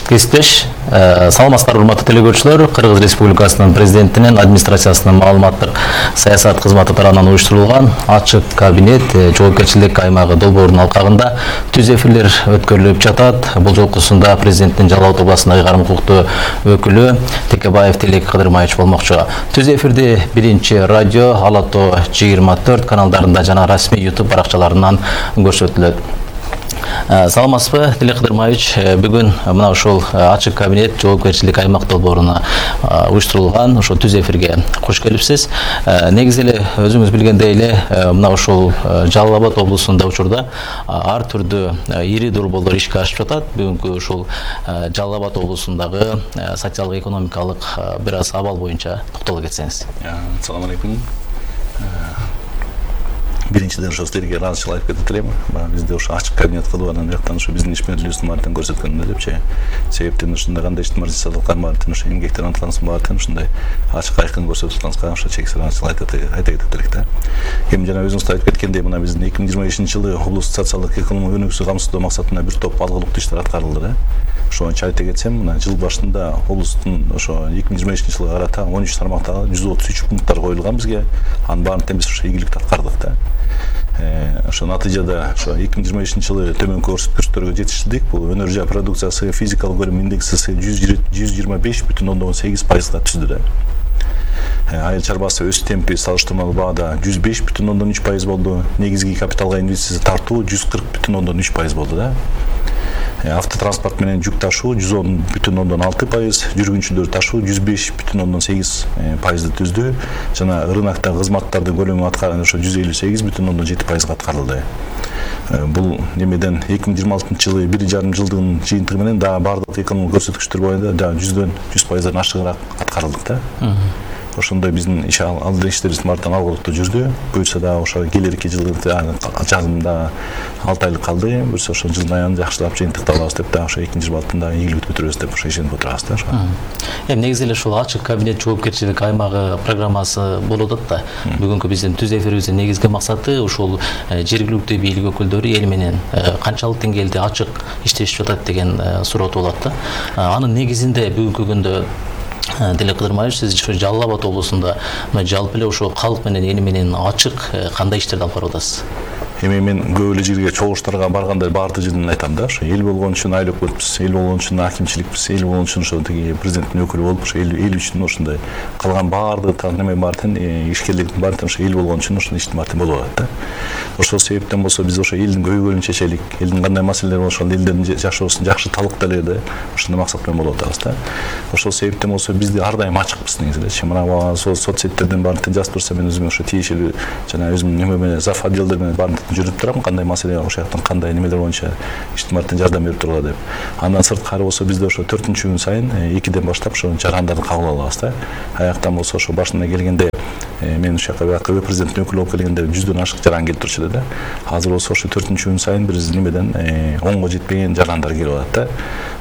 кесиптеш, саламатсыздарбы урматтуу телекөрүүчүлөр. Кыргыз Республикасынын президентинин администрациясынын маалыматтык саясат кызматы тарабынан уюштурулган ачык кабинет жоопкерчилик аймагы долбоорунун алкагында түз эфирлер өткөрүлүп жатат. Бул жолкусунда президенттин Жалал Абад областындагы карым укуктуу өкүлү Текебаев Тилек Кыдырмаевич болмокчу. Түз эфирди биринчи радио Ала Тоо 24 каналдарында жана расмий YouTube баракчаларынан көрсөтүлөт. Саламатсызбы, Тилек Кыдырмаевич, бүгүн мына ушул ачык кабинет жоопкерчилик аймак долбооруна уюштурулган ошо түз эфирге кош келипсиз. Негизи эле өзүңүз билгендей эле мына ушул Жалал Абад облусунда учурда ар түрдүү ири долбоорлор ишке ашып жатат. Бүгүнкү ушул Жалал Абад облусундагы социалдык экономикалык бир аз абал боюнча токтоло кетсеңиз. Assalamu alaikum. Биринчиден ошо силерге ыраазычылык айтып кетип элем. Бизде ошо ачык кабинет кылып анан жактан ошо биздин ишмерлүүбүздүн баардыгын көрсөткөндө депчи. Себептен ушундай кандай иштимар жасадык баардыгын ошо эмгектен атканыбыздын баардыгын ушундай ачык айкын көрсөтүп атканыбызга ошо чексиз ыраазычылык айта кетип элек да. Эми жана өзүңүз айтып кеткендей мына биздин 2025-жылы облустук социалдык экономикалык өнүгүүсү камсыздоо максатында бир топ алгылыктуу иштер аткарылды да. Ошончо айта кетсем, мына жыл башында облустун ошо 2025-жылга карата 13 тармактагы 133 пункттар коюлган бизге. Анын баарын тең биз ошо ийгиликтүү аткардык да. Ошо натыйжада ошо 2025-жылы төмөнкү көрсөткүчтөргө жетиштик. Бул өнөр жай продукциясы физикалык көрүм индекси 125,8% түздү да. Айыл чарбасы өсүш темпи салыштырмалуу баада 105,3% болду. Негизги капиталга инвестиция тартуу 140,3% болду да. Автотранспорт менен жүк ташуу 110,6%, жүргүнчүлөр ташуу 105,8% түздү. Жана рынокто кызматтардын көлөмү аткарган ошо 158,7% аткарылды. Бул немеден 2026-жылы 1,5 жылдын жыйынтыгы менен дагы бардык экономикалык көрсөткүчтөр боюнча дагы 100% ашыгыраак аткарылдык да. Ошондой биздин алдыда иштерибиз мартан алгылыктуу жүрдү. Буюрса дагы ошо келерки жылы жазымда 6 айлык калды. Буюрса ошо жылдын аягында жакшылап жыйынтыкты алабыз деп дагы ошо 2-жылда ийгиликтүү бүтүрөбүз деп ошо ишенип отурабыз да. Эми негизи эле ушул ачык кабинет жоопкерчилик аймагы программасы болуп атат да. Бүгүнкү биздин түз эфирибиздин негизги максаты ушул жергиликтүү бийлик өкүлдөрү эл менен канчалык деңгээлде ачык иштешип жатат деген суроо туулат да. Анын негизинде бүгүнкү күндө Тилек Кыдырмаевич, сиз ошо Жалал Абад облусунда жалпы эле ошо калк менен эл менен ачык кандай иштерди алып барып атасыз? Эми мен көп эле жерге чогулуштарга барганда баардык жерден айтам да, ошо эл болгон үчүн айлык өтпүз, эл болгон үчүн акимчиликпиз, эл болгон үчүн ошо тиги президенттин өкүлү болуп, ошо эл үчүн ошондой калган баардык неме бар тең ишкерликтин баары тең ошо эл болгон үчүн ошондой иштин баары тең болуп атат да. Ошол себептен болсо биз ошо элдин көйгөйлөрүн чечелик, элдин кандай маселелери болсо ошол элдердин жашоосун жакшы талыктайлы ошондой максат менен болуп атабыз да. Ошол себептен болсо биз ар дайым ачыкпыз негизи эле. Мына соцсеттерден баарын тең жазып турса мен өзүм ошо тиешелүү жана өзүм неме менен зав. Отделдер менен баарын жүрүп турам, кандай маселе ошол жактан кандай немелер боюнча иштин баарын тең жардам берип тургула деп. Андан сырткары болсо бизде ошо 4-күн сайын 2ден баштап ошо жарандарды кабыл алабыз да. Аяктан болсо ошо башына келгенде мен ошол жака президенттин өкүлү болуп келгенде 100дөн ашык жаран келип турчу эле да. Азыр болсо ошо 4-күн сайын биз немеден 10го жетпеген жарандар келип атат да.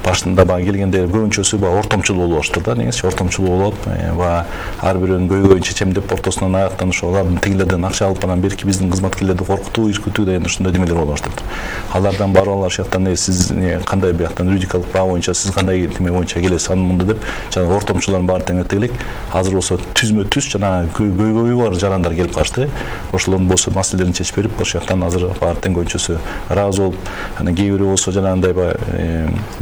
Башында баягы келгенде көбүнчөсү баягы ортомчул болуп алыштыр да. Негизи ортомчул болуп баягы ар бирөөнүн көйгөйүн чечем деп ортосунан аяктан ошо алардын тигилерден акча алып анан берки биздин кызматкерлерди коркутуу, иркитүү деген ошондой немелер болуп алыштыр. Алардан барып алар ошол жактан сиз кандай бияктан юридикалык баа боюнча сиз кандай неме боюнча келесиз анын мындай деп жана ортомчулардын баары тең эртегилик. Азыр болсо түзмө-түз жана көйгөйү бар жарандар келип калышты. Ошолордун болсо маселелерин чечип берип ошол жактан азыр баары тең көбүнчөсү ыраазы болуп, анан кээ бирөө болсо жанагындай баягы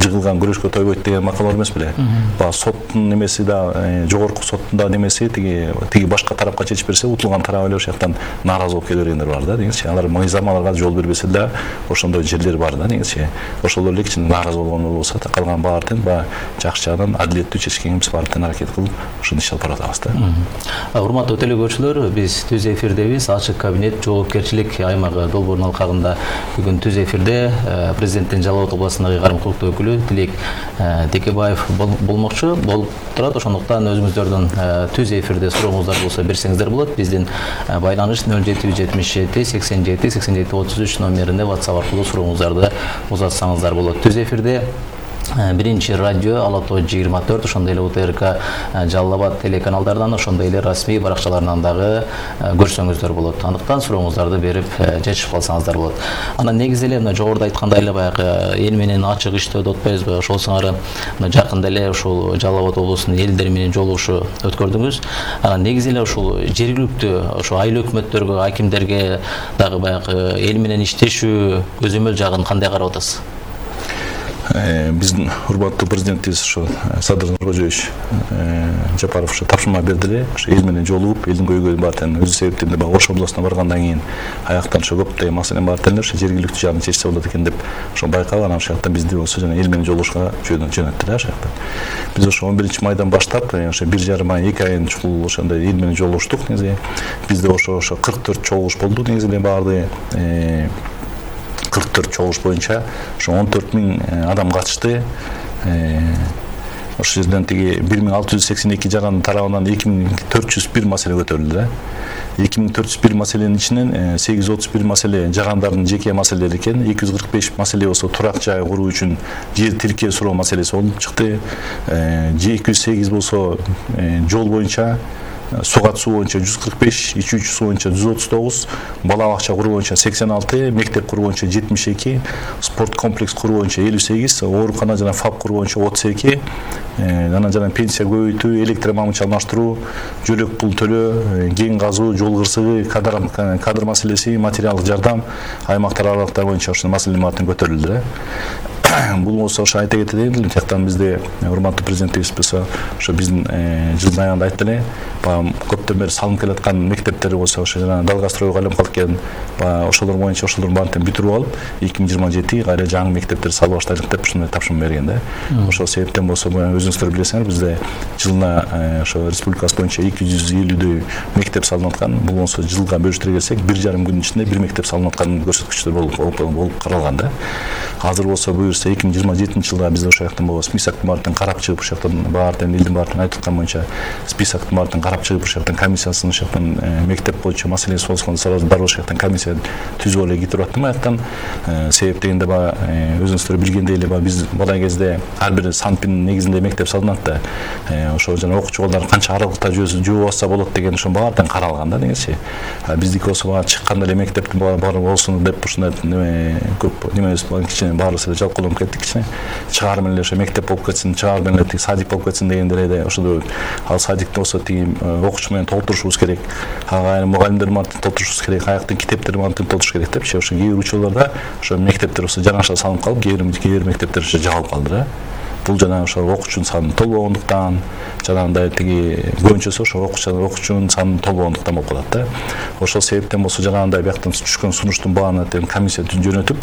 жыгылган күрөшкө тойбойт деген макал бар эмес беле? Баягы соттун немеси да жогорку соттун да немеси тиги башка тарапка чечип берсе утулган тарап эле ошол жактан нааразы болуп кете бергендер бар да. Негизи алар мыйзам аларга жол бербесе да ошондой жерлер бар да. Негизи ошолор эле кичине нааразы болгон болсо да калган баары тең баягы жакшы жагынан адилеттүү чечкенге биз баары тең аракет кылып ошону иш алып баратабыз да. Урматтуу телекөрүүчүлөр, биз түз эфирдебиз. Ачык кабинет жоопкерчилик аймагы долбоорунун алкагында бүгүн түз эфирде президенттин Жалал Абад областындагы карым укуктуу өкүлү Тилек Текебаев болмокчу болуп турат. Ошондуктан өзүңүздөрдүн түз эфирде сурооңуздар болсо берсеңиздер болот. Биздин байланыш 0777 87 87 33 номерине WhatsApp аркылуу сурооңуздарды узатсаңыздар болот. Түз эфирде биринчи радио Ала Тоо 24, ошондой эле УТРК Жалал Абад телеканалдарынан, ошондой эле расмий баракчаларынан дагы көрсөңүздөр болот. Андыктан сурооңуздарды берип жетишип калсаңыздар болот. Анан негизи эле мына жогоруда айткандай эле баягы эл менен ачык иштөөдө отпойбузбу? Ошол сыңары мына жакында эле ушул Жалал Абад облусунун элдери менен жолугушуу өткөрдүңүз. Анан негизи эле ушул жергиликтүү ошо айыл өкмөттөргө, акимдерге дагы баягы эл менен иштешүү көзөмөл жагын кандай карап атасыз? Биздин урматтуу президентибиз ошо Садыр Нуркожоевич Жапаров ошо тапшырма берди эле, ошо эл менен жолугуп, элдин көйгөйүн баарын өзү себептен баягы Ош областына баргандан кийин аяктан ошо көптөгөн маселенин баарын ошо жергиликтүү жагын чечсе болот экен деп ошо байкап, анан ошол жактан бизди болсо жана эл менен жолугушка жөнөттү да ошол жактан. Биз ошо 11-майдан баштап ошо 1,5 ай 2 айын чукул ошондой эл менен жолугуштук. Негизи бизде ошо 44 чогулуш болду. Негизи эле баардыгы 44 чогулуш боюнча ошо 14.000 адам катышты. Ошол жерден тиги 1682 жарандын тарабынан 2401 маселе көтөрүлдү да. 2401 маселенин ичинен 831 маселе жарандардын жеке маселелери экен, 245 маселе болсо турак жай куруу үчүн жер тиркөө суроо маселеси болуп чыкты. 208 болсо жол боюнча, суу катышуу боюнча 145, ичүүчү суу боюнча 139, бала бакча куруу боюнча 86, мектеп куруу боюнча 72, спорт комплекс куруу боюнча 58, оорукана жана ФАП куруу боюнча 32, анан жана пенсия көбөйтүү, электр мамычы алмаштыруу, жөлөк пул төлөө, кен казуу, жол кырсыгы, кадр маселеси, материалдык жардам, аймактар аралыктар боюнча ошол маселенин баарын көтөрүлдү да. Бул болсо ошо айта кетейин, жактан бизде урматтуу президентибиз болсо ошо биздин жылдын аягында айтты эле, баягы көптөн бери салынып келаткан мектептер болсо ошо жана Далгастройго айланып калып келген, баягы ошолор боюнча ошолордун баарын бүтүрүп алып 2027 кайра жаңы мектептер салып баштайлык деп ушундай тапшырма берген да. Ошол себептен болсо өзүңүздөр билесиңер, бизде жылына ошо республикабыз боюнча 250дөй мектеп салынып аткан. Бул болсо жылга бөлүштүрө келсек 1,5 күнүн ичинде бир мектеп салынып аткан көрсөткүчтөр болуп каралган да. Азыр болсо буюрса 2027 жылга биз ошол жактан списоктун баарын карап чыгып, ошол жактан баарын элдин баарын айтып аткан боюнча списоктун баарын карап чыгып, ошол жактан комиссиясын ошол жактан мектеп боюнча маселеси болгон сразу бар ошол жактан комиссия түзүп эле кетирип аттым аяктан. Себеп дегенде баягы өзүңүздөр билгендей эле биз бала кезде ар бир санттын негизинде мектеп салынат да. Ошол жана окуучу балдар канча аралыкта жөө басса болот деген ошо баардыгы каралган да негизи. Биздики болсо баягы чыкканда эле мектептин баары болсун деп ушундай көп немебиз кичине баарыбыз эле жалкоолонуп кеттик кичине. Чыгар менен эле ошо мектеп болуп кетсин, чыгар менен эле садик болуп кетсин дегенде эле ошол ал садикте болсо тиги окуучу менен толтурушубуз керек. Айрым мугалимдер менен толтурушубуз керек, аяктын китептери менен толтуруш керек депчи. Ошо кээ бир учурларда ошо мектептер болсо жанаша салынып калып, кээ бир мектептер ошо жабылып калды да. Бул жана ошо окуучунун саны толбогондуктан, жанагындай тиги көбүнчөсү ошо окуучунун саны толбогондуктан болуп калат да. Ошол себептен болсо жанагындай бияктан түшкөн сунуштун баарына комиссия жөнөтүп,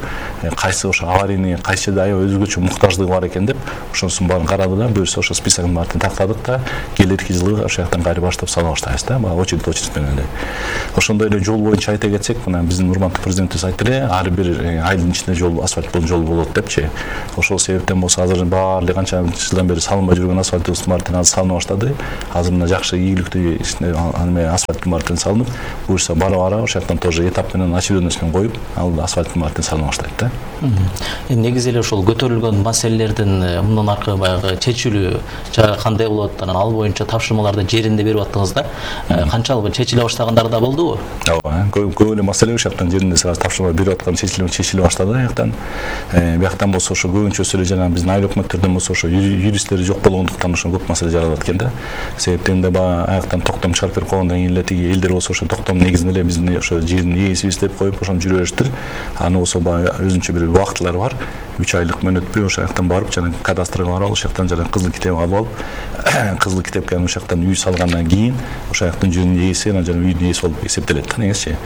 кайсы ошо аварийный, кайсы жерде аябай өзгөчө муктаждыгы бар экен деп, ошонусун баарын карады да, буюрса ошо списоктун баарын тактадык да, келерки жылы ошол жактан кайра баштап сала баштайбыз да, очередь менен эле. Ошондой эле жол боюнча айта кетсек, мына биздин урматтуу президентибиз айтты эле, ар бир айылдын ичинде жол, асфальт жол болот депчи. Ошол себептен болсо азыр баары канча жылдан бери салынбай жүргөн асфальтыбыз баарын азыр салына баштады. Азыр мына жакшы ийгиликтүү асфальттын баарын салынып, буюрса бара-бара ошол жактан тоже этап менен очередностьмен коюп, ал асфальттын баарын салына баштайт да. Негизи эле ошол көтөрүлгөн маселелердин мындан аркы баягы чечилүү жагы кандай болот? Анан ал боюнча тапшырмаларды жеринде берип аттыңыздар. Канчалык чечиле баштагандар да болдубу? Ооба, көп эле маселе ошол жактан жеринде сразу тапшырма берип аткан чечиле баштады аяктан. Бияктан болсо ошо көбүнчөсү эле жана биздин айыл өкмөттөрдөн болсо ошо юристтери жок болгондуктан ошо көп маселе жаралат экен да. Себептен баягы аяктан токтом чыгарып берип койгондон кийин эле тиги элдер болсо ошо токтом негизинде эле биздин ошо жердин ээсибиз деп коюп ошону жүрө бериштир. Аны болсо баягы өзүнчө бир убактылары бар. 3 айлык мөөнөтпөй ошол жактан барып жана кадастрга барып ошол жактан жана кызыл китеп алып алып, кызыл китепке ошол жактан үй салгандан кийин ошол жактын жердин ээси жана үйдүн ээси болуп эсептелет да негизичи.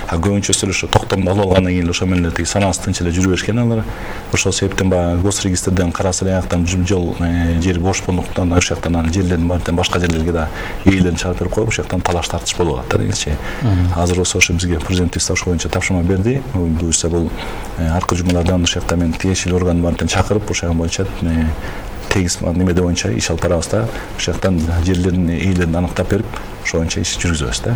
Көбүнчөсү ошо токтомду алып алгандан кийин ошо менен эле тиги санаасы тынч эле жүрө беришкен алар. Ошол себептен баягы госрегистрден караса эле аяктан жол жер бош болгондуктан ошол жактан анан жерлердин баарын башка жерлерге да ээлерин чыгарып берип коюп ошол жактан талаш тартыш болуп атат да негизичи. Азыр болсо ошо бизге президентибиз ошол боюнча тапшырма берди. Буюрса бул аркы жумалардан ошол жакта мен тиешелүү органдын баарын чакырып ошол боюнча тегиз немеде боюнча иш алып барабыз да. Ошол жактан жерлердин ээлерин аныктап берип, ошо боюнча иш жүргүзөбүз да.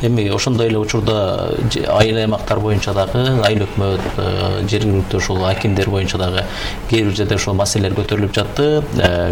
Эми ошондой эле учурда айыл аймактар боюнча дагы айыл өкмөт, жергиликтүү ошол акимдер боюнча дагы кээ бир жерде ошол маселелер көтөрүлүп жатты.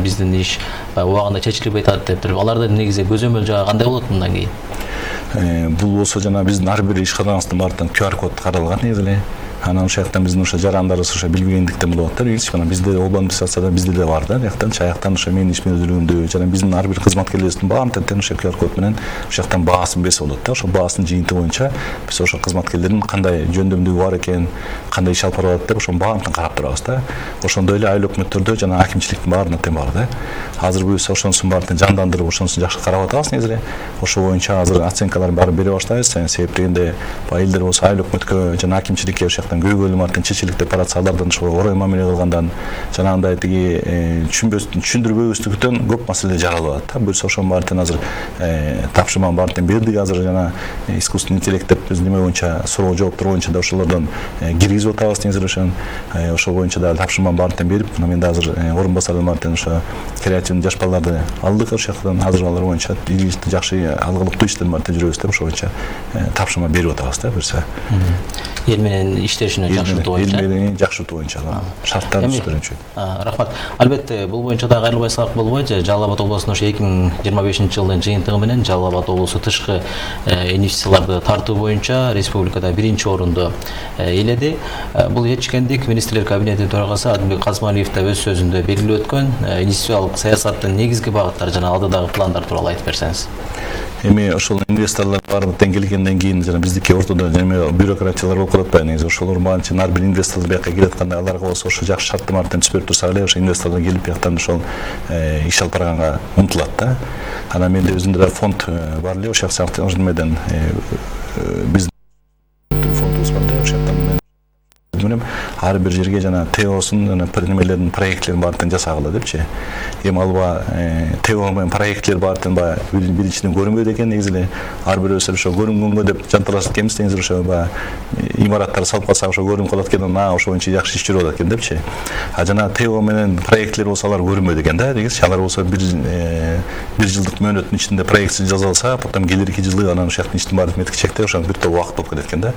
Биздин иш убагында чечилбей атат деп туруп, алардын негизи көзөмөл жагы кандай болот мындан кийин? Бул болсо жана биздин ар бир ишканабыздын баардыгын QR код каралган негизи эле. Анан ошол жактан биздин ошо жарандарыбыз ошо билбегендиктен болуп атат. Мына бизде облон администрацияда бизде да бар да. Жактан ошо менин иш мүнөздүүлүгүмдө жана биздин ар бир кызматкерлерибиздин баарын тең ошо QR код менен ошол жактан баасын берсе болот да. Ошол баасын жыйынтыгы боюнча биз ошо кызматкерлердин кандай жөндөмдүгү бар экен, кандай иш алып барып атат деп ошонун баарын карап турабыз да. Ошондой эле айыл өкмөттөрдө жана акимчиликтин баарына тең бар да. Азыр буюрса ошонусун баарын жандандырып, ошонусун жакшы карап атабыз негизи эле. Ошол боюнча азыр оценкаларын баарын бере баштайбыз. Себеп дегенде айылдар болсо айыл өкмөткө жана акимчиликке ошол жактан көйгөйлүү чечилик деп барат, алардан ошо орой мамиле кылгандан жанагындай тиги түшүндүрбөбүздүктөн көп маселе жаралып атат да. Буюрса ошонун баарын азыр тапшырманын баарын бердик. Азыр жана искусственный интеллект деп биз неме боюнча суроо жооптор боюнча да ошолордон киргизип атабыз негизи эле. Ошол боюнча да тапшырманын баарын берип, мен да азыр орун басардын баарын ошо креативный жаш балдарды алдык. Ошол жактан азыр алар боюнча жакшы алгылыктуу иштердин баарын жүрөбүз деп ошол боюнча тапшырма берип атабыз да. Буюрса эл менен иштешине жакшыртуу боюнча. Эл менен жакшыртуу боюнча шарттарын түзүшү. Рахмат. Албетте бул боюнча дагы кайрылбай салак болбойт. Жалал Абад облусунун ошо 2025-жылдын жыйынтыгы менен Жалал Абад облусу тышкы инвестицияларды тартуу боюнча республикада 1-орунду ээледи. Бул этчкендик министрлер кабинетинин төрагасы Адилбек Казмалиев да өз сөзүндө белгилеп өткөн. Инвестициялык саясаттын негизги багыттары жана алдыдагы пландар тууралуу айтып берсеңиз. Эми ошол инвесторлор баарын тең келгенден кийин жана биздики ортодо неме бюрократиялар болуп калат атпайбы негизи. Ошолор баарын ар бир инвесторлор бияка келип атканда аларга болсо ошо жакшы шарттар менен түзүп берип турсак эле ошо инвесторлор келип бияктан ошол иш алып барганга умтулат да. Анан менде өзүмдө да фонд бар эле ошол жактан немеден биз фондубуз бар да. Ошол жактан менен ар бир жерге жана ТОсун жана немелердин проектлерин баарын жасагыла депчи. Эми алба ТО менен проектлер баарын биринчиден көрүнбөйт экен негизи эле. Ар бирөөсү ошо көрүнгөнгө деп жанталашып келебиз негизи ошо имараттарды салып калсак ошо көрүнүп калат экен, ошо боюнча жакшы иш жүрүп атат экен депчи. Жана ТО менен проектлер болсо алар көрүнбөйт экен да негизи. Алар болсо бир жылдык мөөнөттүн ичинде проектин жазып алса, потом келирки жылы анан ошол жактын иштин баарын меткичекте ошо бир топ убакыт болуп кетет экен да.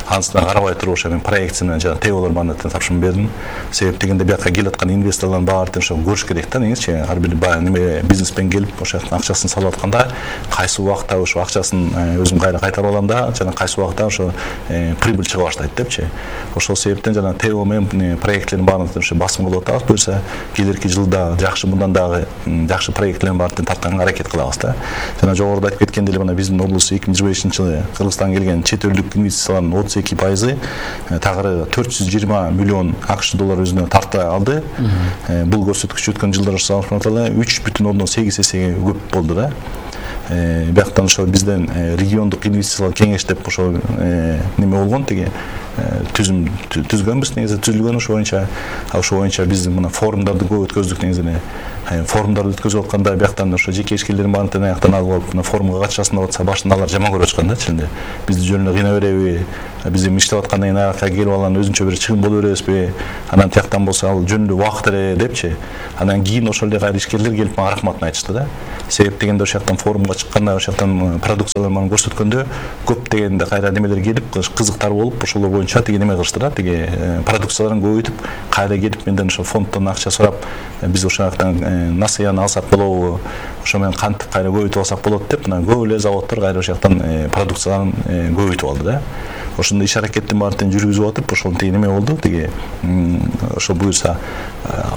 Анысына карабай туруп ошо мен проектсин жана ТОлор баарын тапшырма бердим. Себеп дегенде бияка келип аткан инвесторлордун баарын ошо көрүш керек да негизи. Ар бир неме бизнесмен келип ошол жактан акчасын салып атканда кайсы убакта ошо акчасын өзүм кайра кайтарып алам да, жана кайсы убакта ошо прибыль чыга баштайт депчи. Ошол себептен жана ТО менен проектлердин баарын ошо басым кылып атабыз. Буюрса келирки жылда жакшы мындан дагы жакшы проектлердин баарын тартканга аракет кылабыз да. Жана жогоруда айтып кеткендей эле мына биздин облус 2025-жылы Кыргызстанга келген чет элдик инвестициялардын 32% тагыры 420 миллион АКШ доллар өзүнө тарта алды. Бул көрсөткүч өткөн жылдар салыштырмалуу 3,8 эсеге көп болду да. Бияктан ошо бизден региондук инвестициялык кеңеш деп ошо неме болгон тиги түзгөнбүз негизи, түзүлгөн ошо боюнча биз мына форумдарды көп өткөздүк негизи эле. Форумдарды өткөзүп атканда бияктан ошо жеке ишкерлердин баарын аяктан алып алып мына форумга катышасың деп атса башында алар жаман көрүп ачкан да чынында. Бизди жөн эле кыйнай береби? Биз эми иштеп аткандан кийин аякка келип алган өзүнчө бир чыгым боло беребизби? Анан тияктан болсо ал жөн эле убакыт эле депчи. Анан кийин ошол эле кайра ишкерлер келип мага рахматын айтышты да. Себеп дегенде ошол жактан форумга чыкканда ошол жактан продукцияларын көрсөткөндө көп дегенде кайра немелер келип кызыктар болуп ошол боюнча тиги неме кылышты да, тиги продукцияларын көбөйтүп кайра келип менден ошо фонддон акча сурап биз ошол жактан насыяны алсак болобу, ошо менен кантип кайра көбөйтүп алсак болот деп мына көп эле заводдор кайра ошол жактан продукцияларын көбөйтүп алды да. Ошондой иш аракеттин баарын жүргүзүп атып ошол тиги неме болду, тиги ошо буюрса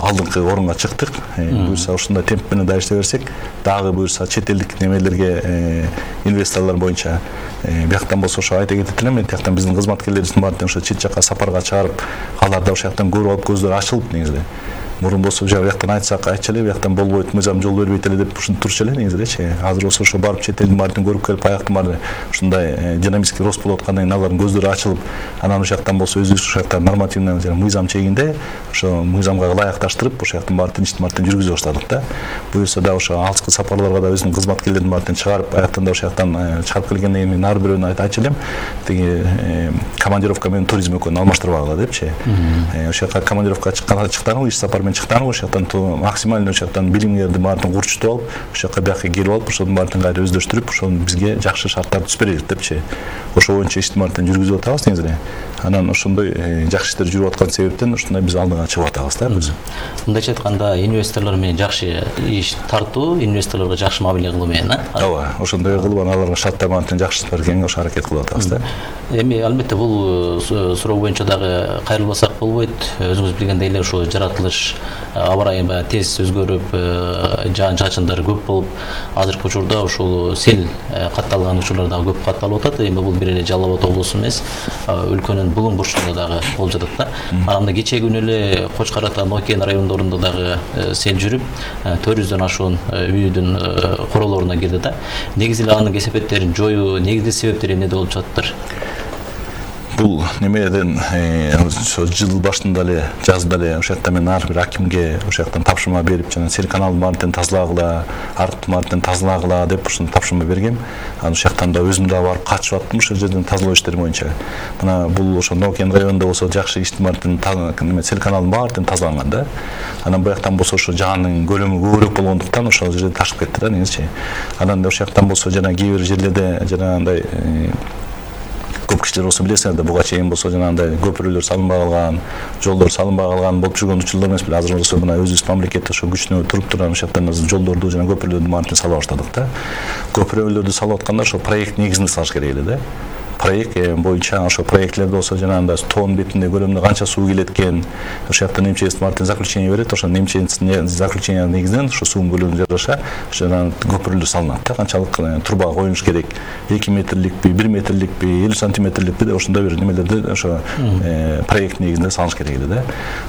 алдыңкы орунга чыктык. Буюрса ушундай темп менен да иштей берсек, дагы буюрса чет элдик немелерге инвесторлор боюнча бияктан болсо ошо айта кетет элем, мен тияктан биздин кызматкерлерибиздин баарын ошо чет жакка сапарга чыгарып, алар да ошол жактан көрүп алып көздөрү ачылып негизи. Мурун болсо бияктан айтсак айтчу эле, бияктан болбойт, мыйзам жол бербейт эле деп ушинтип турчу эле негизи элечи. Азыр болсо ошо барып чет элдин баарын көрүп келип, аяктын баары ушундай динамический рост болуп аткандан кийин алардын көздөрү ачылып, анан ошол жактан болсо өзүбүз ошол жактан нормативный жана мыйзам чегинде ошо мыйзамга ылайыкташтырып ошол жактын баарын иштин баарын жүргүзө баштадык да. Буюрса да ошо алыскы сапарларга да өзүнүн кызматкерлерин баарын чыгарып, аяктан да ошол жактан чыгарып келгенден кийин ар бирөөнү айтчу элем, тиги командировка менен туризм экөөнү алмаштырбагыла депчи. Ошол жака командировка чыккан иш сапар менен чыктан ошол жактан максимально ошол жактан билимгерди баарын курчутуп алып ошол жака бияка келип алып ошонун баарын кайра өздөштүрүп ошону бизге жакшы шарттарды түзүп берелик депчи ошол боюнча ишти баарын жүргүзүп атабыз негизи эле анан ошондой жакшы иштер жүрүп аткан себептен ушундай биз алдыга чыгып атабыз да биз мындайча айтканда инвесторлор менен жакшы иш тартуу инвесторлорго жакшы мамиле кылуу менен ооба ошондой кылып аларга шарттар баарын жакшы бергенге ошо аракет кылып атабыз да эми албетте бул суроо боюнча дагы кайрылбасак болбойт өзүңүз билгендей эле ушул жаратылыш аба ырайы баягы тез өзгөрүп жаан чачындар көп болуп азыркы учурда ушул сел катталган учурлар дагы көп катталып атат эми бул бир эле Жалал Абад облусу эмес өлкөнүн булуң бурчунда дагы болуп жатат да анан кечеги күнү эле Кочкор Ата Нокен райондорунда дагы сел жүрүп 400дөн ашуун үйдүн королоруна кирди да негизи эле анын кесепеттерин жоюу негизги себептери эмнеде болуп жатыптыр бул немеден ошо жыл башында эле жазда эле ошол жакта мен ар бир акимге ошол жактан тапшырма берип жана сел каналын баарын тазалагыла арыктын баарын тазалагыла деп ушуну тапшырма бергем анан ошол жактан да өзүм да барып катышып аттым ошол жерден тазалоо иштери боюнча мына бул ошо Нокен районунда болсо жакшы иштин баарын сел каналынын баары тазаланган да анан буяктан болсо ошо жаанын көлөмү көбүрөөк болгондуктан ошол жерде ташып кетти да негизичи анан ошол жактан болсо жана кээ бир жерлерде жанагындай көп кишилер болсо билесиңер да буга чейин болсо жанагындай көпүрөлөр салынбай калган жолдор салынбай калган болуп жүргөн учурлар эмес беле азыр болсо мына өзүбүз мамлекет ошо күчүнө туруп турган ошол жактан жолдорду жана көпүрөлөрдү баарын сала баштадык да көпүрөлөрдү салып атканда ошо проект негизинде салыш керек эле да проект боюнча ошо проектлерде болсо жанагындай тоонун бетинде көлөмүндө канча суу келет экен ошол жакта немчеси баарын заключение берет ошо немченин заключение негизинен ошо суунун көлөмүнө жараша жана көпүрөлөр салынат да канчалык труба коюш керек 2 метрликпи 1 метрликпи 50 сантиметрликпи деп ошондой бир немелерди ошо проект негизинде салыш керек эле да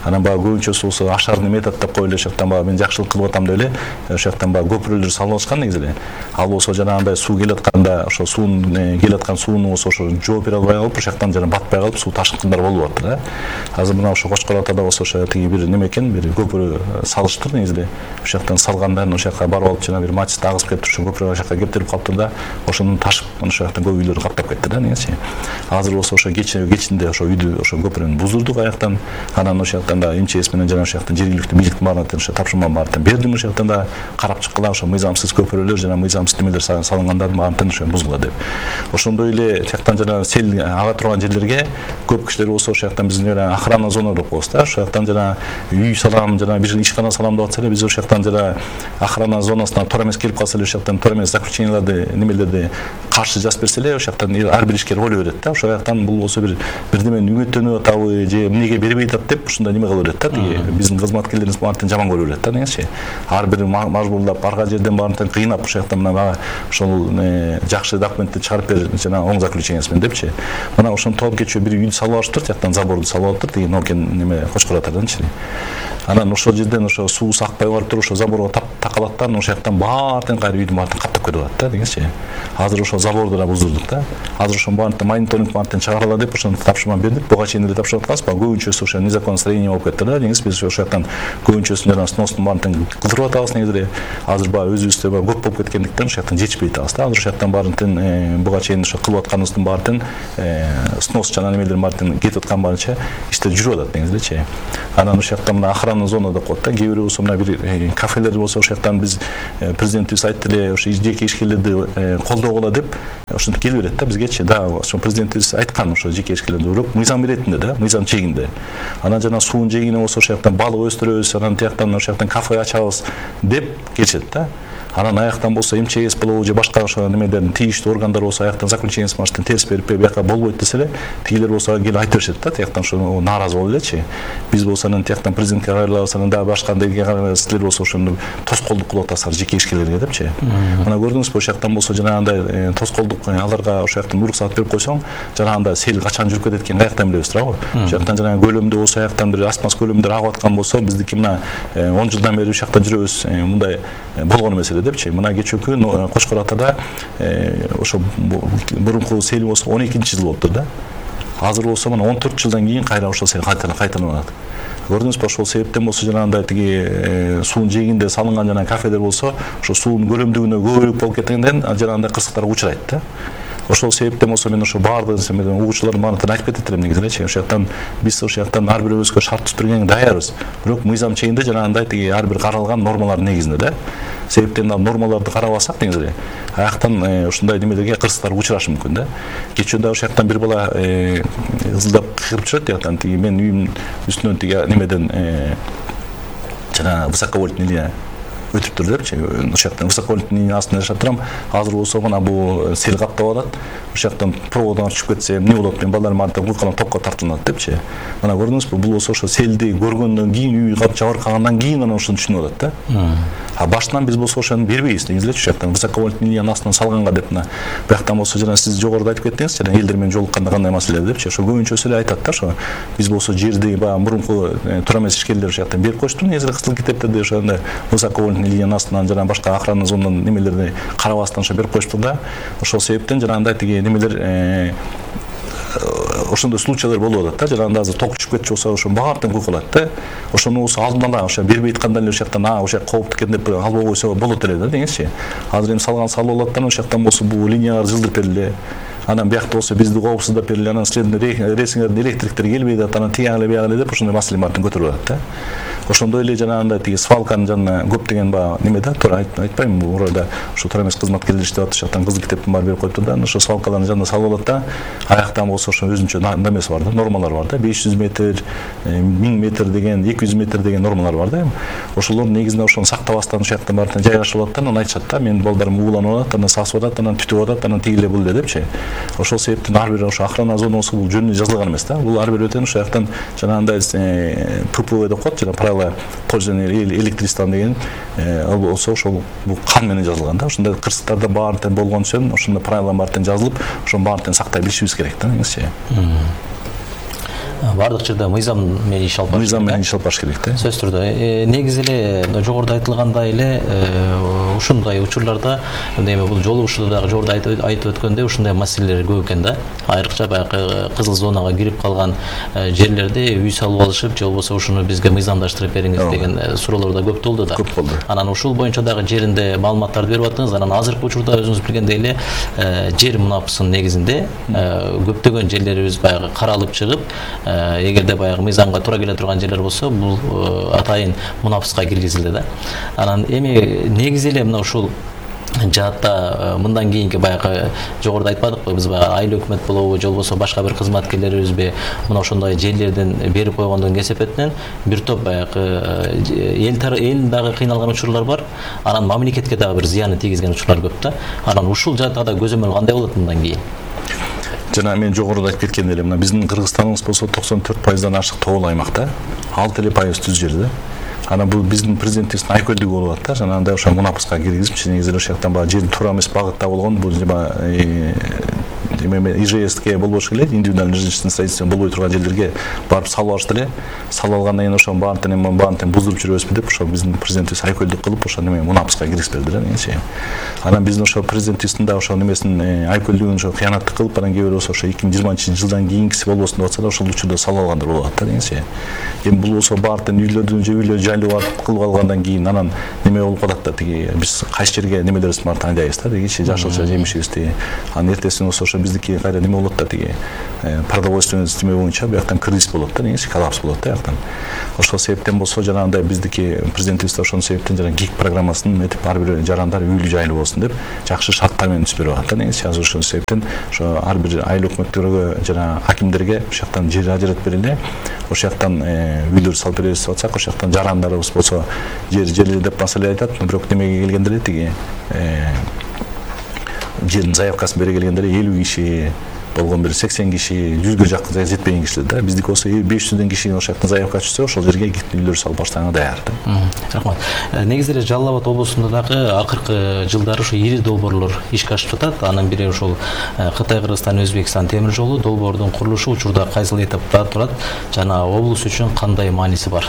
анан баягы көбүнчөсү болсо ашарный метод деп коюп эле ошол жактан баягы мен жакшылык кылып атам деп эле ошол жактан баягы көпүрөлөр салып атышкан негизи эле ал болсо жанагындай суу келип атканда ошо суунун келип аткан сууну болсо ошо жооп бере албай калып ошол жактан жана батпай калып суу ташкындар болуп атты да азыр мына ошо Кочкор Атада болсо ошо тиги бир неме экен бир көпүрө салыштыр негизи эле ошол жактан салгандан ошол жака барып алып жана бир мачты агызып келиптир ошо көпүрө ошол жака кептирип калыптыр да ошону ташып ошол жактан көп үйлөрдү каптап кетти да негизичи азыр болсо ошо кечинде ошо үйдү ошо көпүрөнү буздурдук аяктан анан ошол жактан да МЧС менен жана ошол жактан жергиликтүү бийликтин баарына ошо тапшырма баарын бердим ошол жактан да карап чыккыла ошо мыйзамсыз көпүрөлөр жана мыйзамсыз немелер салынгандардын баарын ошо бузгула деп ошондой эле жактан жана сел ага турган жерлерге көп кишилер болсо ошол жактан биздин охрана зона деп коебуз да ошол жактан жана үй салам жана бир ишкана салам деп атса эле биз ошол жактан жана охрана зонасына туура эмес келип калса эле ошол жактан туура эмес заключенияларды немелерди каршы жазып берсе эле ошол жактан ар бир ишкер ойлой берет да ошол жактан бул болсо бирдемени үмүттөнүп атабы же эмнеге бербей атат деп ушундай неме кыла берет да тиги биздин кызматкерлерибиз баарын жаман көрө берет да негизичи ар бир мажбурлап арга жерден баарын кыйнап ошол жактан мына ошол жакшы документти чыгарып бер жана оң заключениясы менен депчи мына ошону толуп кечээ бир үйдү салып алыштыр жактан заборду салып алыптыр тиги Нокен неме Кочкор Атаданчы анан ошол жерден ошо суусу акпай барып туруп ошо заборго такалат да ошол жактан баарын кайра үйдүн баарын каптап кетип атат да дегенчи азыр ошо заборду да буздурдук да азыр ошонун баарын мониторинг баарын чыгарала деп ошону тапшырма бердик буга чейин эле тапшырып атканбыз баягы көбүнчөсү ошо незаконное строение болуп кетти да негизи биз ошол жактан көбүнчөсүн жана сностун баарын кылдырып атабыз негизи эле азыр баягы өзүбүздө көп болуп кеткендиктен ошол жактан жетишпей атабыз да азыр ошол жактан баарын буга чейин ошо кылып атканыбыздын баарын снос жана немелердин баарын кетип аткан боюнча иштер жүрүп атат негизи элечи анан ошол жактан мына охрана зона деп коет да кээ бирөө болсо мына бир кафелер болсо ошол жактан биз президентибиз айтты эле ошо жеке ишкерлерди колдогула деп ошентип келе берет да бизгечи да ошо президентибиз айткан ошо жеке ишкерлерди бирок мыйзам иретинде да мыйзам чегинде анан жана суунун чегине болсо ошол жактан балык өстүрөбүз анан тияктан ошол жактан кафе ачабыз деп келишет да анан аяктан болсо МЧС болобу же башка ошо немеден тийиштүү органдар болсо аяктан заключениясын баштан терс берип бияка болбойт десе эле тигилер болсо келип айтып беришет да тияктан ошо нааразы болуп элечи биз болсо анан тияктан президентке кайрылабыз анан дагы башка силер болсо ошону тоскоолдук кылып атасыздар жеке ишкерлерге депчи мына көрдүңүзбү ошол жактан болсо жанагындай тоскоолдук аларга ошол жактан уруксаат берип койсоң жанагындай сел качан жүрүп кетет экенин каяктан билебиз туурабы ошол жактан жанагы көлөмдө болсо аяктан бир асмас көлөмдөр агып аткан болсо биздики мына 10 жылдан бери ушул жакта жүрөбүз мындай болгон эмес эле депчи мына кечээ күн Кочкор Атада ошо мурунку сел болсо 12-жыл болуптур да азыр болсо мына 14 жылдан кийин кайра ошол сел кайталанып атат көрдүңүзбү ошол себептен болсо жанагындай тиги суунун жээгинде салынган жана кафелер болсо ошо суунун көлөмдүгүнө көбүрөөк болуп кеткенден жанагындай кырсыктарга учурайт да Ошол себептен болсо мен ошо баардык угуучулардын баардыгына айтып кетет элем негизи ошол жактан биз ошол жактан ар бирөөбүзгө шарт түзүп бергенге даярбыз. Бирок мыйзам чегинде жанагындай тиги ар бир каралган нормалар негизинде да. Себептен нормаларды карабасак негизи аяктан ушундай немелерге кырсыктар учурашы мүмкүн да. Кечөөндө ошол жактан бир бала ызылдап кыйрып чыгат жактан тиги мен үйүмдүн үстүнөн тиги немеден жана высоковольтный линия өтүптүр депчи. Ошол жактан высоковольтный линия астында жашап турам. Азыр болсо мына бул сел каптап атат. Ошол жактан проводдон түшүп кетсе эмне болот? Мен балдарым артынан куйкалан токко тартылат депчи. Мына көрдүңүзбү? Бул болсо ошо селди көргөндөн кийин үй жабыркагандан кийин анан ошону түшүнүп атат да. А башынан биз болсо ошону бербейбиз негизи ошол жактан высоковольтный линияны астынан салганга деп мына бияктан болсо жана сиз жогоруда айтып кеттиңиз жана элдер менен жолукканда кандай маселелер депчи. Ошо көбүнчөсү эле айтат да ошо биз болсо жерди баягы мурунку туура эмес ишкерлер ошол жактан берип койчу негизи кызыл китептерде ошондой высоковольтный линиянын астынан жана башка охранный зонадан немелерди карабастан ошо берип коюштур да. Ошол себептен жанагындай тиги немелер ошондой случайлар болуп атат да. Жанагындай азыр ток түшүп кетчү болсо ошо баардыгын куйкалат да. Ошону болсо алдын ала ошо бербей атканда эле ошол жактан ошол кооптуу экен деп албай койсо болот эле да деңизчи. Азыр эми салган салып алат да ошол жактан болсо бул линиялар жылдырып бериле. Анан биякта болсо бизди коопсуздап бериле. Анан силердин рейсиңердин электриктери келбей атат. Анан тиягы эле деп ошондой маселе баардыгын көтөрүп атат да. Ошондой эле жанагындай тиги свалканын жанына көптөгөн баягы неме да туура айтпайм бул урайда ошо туура эмес кызматкерлер иштеп атат. Ошол жактан кызыл китептин баары берип коюптур да. Ошо свалкалардын жанына салып алат да. Аяктан болсо ошо өзүнчө немеси бар да, нормалар бар да. 500 метр, 1000 метр деген, 200 метр деген нормалар бар да. Ошолордун негизинде ошону сактабастан ошол жактан баардыгын жайгашып алат да. Анан айтышат да, менин балдарым ууланып атат, анан сасып атат, анан түтүп атат, анан тигиле бул эле депчи. Ошол себептен ар бир ошо охрана зонасы бул жөнүнө жазылган эмес да. Бул ар бир өтөн ошол жактан жанагындай ППВ деп коет, жана правила пользования электричеством деген ал болсо ошол бул кан менен жазылган да. Ошондой кырсыктарда баардыгы болгон үчүн ошондой правиланын баардыгын жазылып, ошонун баардыгын сактай билишибиз керек да негизичи. Бардык жерде мыйзам менен иш алып барыш керек. Мыйзам менен иш алып барыш керек да. Сөзсүз түрдө негизи эле жогоруда айтылгандай эле ушундай учурларда эми бул жолугушууда дагы жогоруда айтып өткөндөй ушундай маселелер көп экен да. Айрыкча баягы кызыл зонага кирип калган жерлерде үй салып алышып, же болбосо ушуну бизге мыйзамдаштырып бериңиз деген суроолор да көп болду да. Көп болду. Анан ушул боюнча дагы жеринде маалыматтарды берип аттыңыз. Анан азыркы учурда өзүңүз билгендей эле жер мунапысынын негизинде көптөгөн жерлерибиз баягы каралып чыгып, эгерде баягы мыйзамга туура келе турган жерлер болсо, бул атайын мунапыска киргизилди да. Анан эми негизи эле мына ушул жаатта мындан кийинки баягы жогоруда айтпадыкпы, биз баягы айыл өкмөт болобу, же болбосо башка бир кызматкерлерибизби мына ошондой жерлерден берип койгондон кесепетинен бир топ баягы эл дагы кыйналган учурлар бар. Анан мамлекетке дагы бир зыяны тийгизген учурлар көп да. Анан ушул жаатта да көзөмөл кандай болот мындан кийин? Жана мен жогоруда айтып кеткендей эле мына биздин Кыргызстаныбыз болсо 94%дан ашык тоолуу аймакта, 6% түз жер да. Анан бул биздин президентибиздин айкөлдүгү болуп атат да. Жанагындай ошо мунапыска киргизипчи негизи ошол жактан баягы жердин туура эмес багытта болгон бул ИЖСке болбош эле, индивидуальный жилищный строительство болбой турган жерлерге барып салып алышты эле. Салып алгандан кийин ошонун баардыгын буздуруп жүрөбүзбү деп ошо биздин президентибиз айкөлдүк кылып ошо неме мунапыска киргизип берди да негизи. Анан биздин ошо президентибиздин да ошо немесин айкөлдүгүн ошо кыянаттык кылып, анан кээ бирөө ошо 2020-жылдан кийинкиси болбосун деп атса да ошол учурда салып алгандар болуп атат да негизи. Эми бул болсо баардыгын үйлөрдүн жайлуу кылып алгандан кийин анан неме болуп калат да, тиги биз кайсы жерге немелерибизди баарын тандайбыз да, тиги жашылча жемишибизди. Анан эртесин болсо ошо биздики кайра неме болот да, тиги продовольственный система боюнча бияктан кризис болот да, негизи коллапс болот да бияктан. Ошол себептен болсо жанагындай биздики президентибиз ошол себептен жана ГИК программасын этип ар бир жарандар үйлүү жайлуу болсун деп жакшы шарттар менен түзүп берип атат да негизи. Азыр ошол себептен ошо ар бир айыл өкмөттөргө жана акимдерге ошол жактан жер ажыратып бериле. Ошол жактан үйлөр салып беребиз деп атсак, ошол жактан жарандарыбыз болсо жер деп маселе айтат, бирок немеге келгенде эле тиги жердин заявкасын бере келгенде эле 50 киши болгон, бир 80 киши, 100гө жакын жетпеген кишилер да. Биздики болсо 500дөн киши ошол жактан заявка түшсө, ошол жерге үйлөр салып баштаганга даяр да. Рахмат. Негизи эле Жалал Абад облусунда дагы акыркы жылдары ошо ири долбоорлор ишке ашып жатат. Анын бири ошол Кытай, Кыргызстан, Өзбекстан темир жолу долбоордун курулушу учурда кайсыл этапта турат жана облус үчүн кандай мааниси бар?